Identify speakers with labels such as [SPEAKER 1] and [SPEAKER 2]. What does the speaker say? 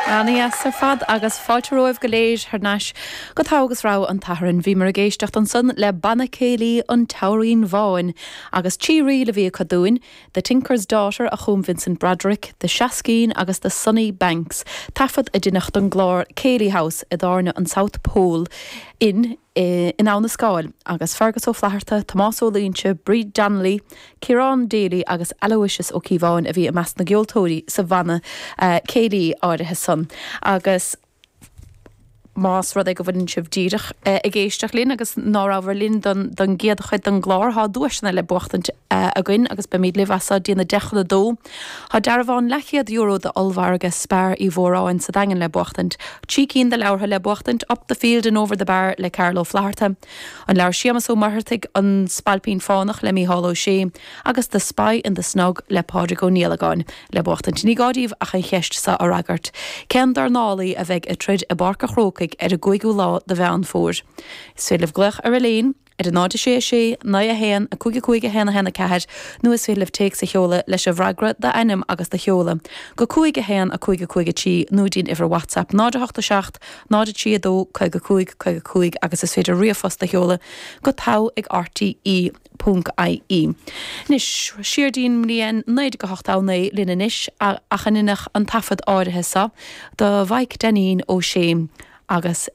[SPEAKER 1] Ana-dheas ar fad agus fáilte romhaibh go léir thar n-ais go Togha agus Rogha an tSathairn. Bhíomar ag éisteacht ansan le Banna Céilí an Teamhairín Bháin agus trí ríl a bhí acu dúinn, The Tinker's Daughter a chum Vincent Broderick, The Shaskeen agus The Sunny Banks, taifead a deineadh don gclár Céilí House i dtábhairne an South Pole Inn in Abha na Scáil, agus Fergus Ó Flatharta, Tomás Ó Loingsigh, Bríd Donnelly, Ciarán Daly agus Aloysius Ó Cíobháin a bhí i measc na gceoltóirí sa bhanna céilí áirithe san. Agus más rud é go bhfuileann sibh díreach ag éisteacht linn agus ná rabhabhair linn don don gcéad chuid den gclár, thá duaiseanna le buachtaint againn agus beimid libh as so dtí'n 1:50. Thá dearbhán leathchéad euro d'ollmhargadh Spar Uí Mhóráin sa Daingean le buachtaint, trí cinn de leabhartha le buachtaint, Up the Field and Over the Bar le Carl Ó Flaithearta, An leabhar Séamas Ó Muircheartaigh, An Spailpín Fánach le Mícheál Ó Sé agus The Spy in the Snug le Pádraig Ó Niallagáin le buachtaint. Ní gá daoibh ach an cheist seo a fhreagairt, Cén dornálaí a bheidh ag troid i bPáirc a' Chrócaigh ar an gcúigiú lá de Mheán Fómhair? Is féidir libh glaoch ar Elaine ar 0 6 6 9 1 5 5 1 1 4 nó is féidir libh téacs a sheoladh leis an bhfreagra, d'ainm agus do sheoladh, go 5 1 5 5 3 nó dtí'n uimhir WhatsApp 0 8 7 0 3 2 55 55 agus is féidir ríomhphost a sheoladh go togha ag rte ponc ie. Anois, siar dtí'n mbliain 1989 linn anois ach a ndeineadh an taifead áirithe seo do Mhaidhc Dainín Ó Sé agus.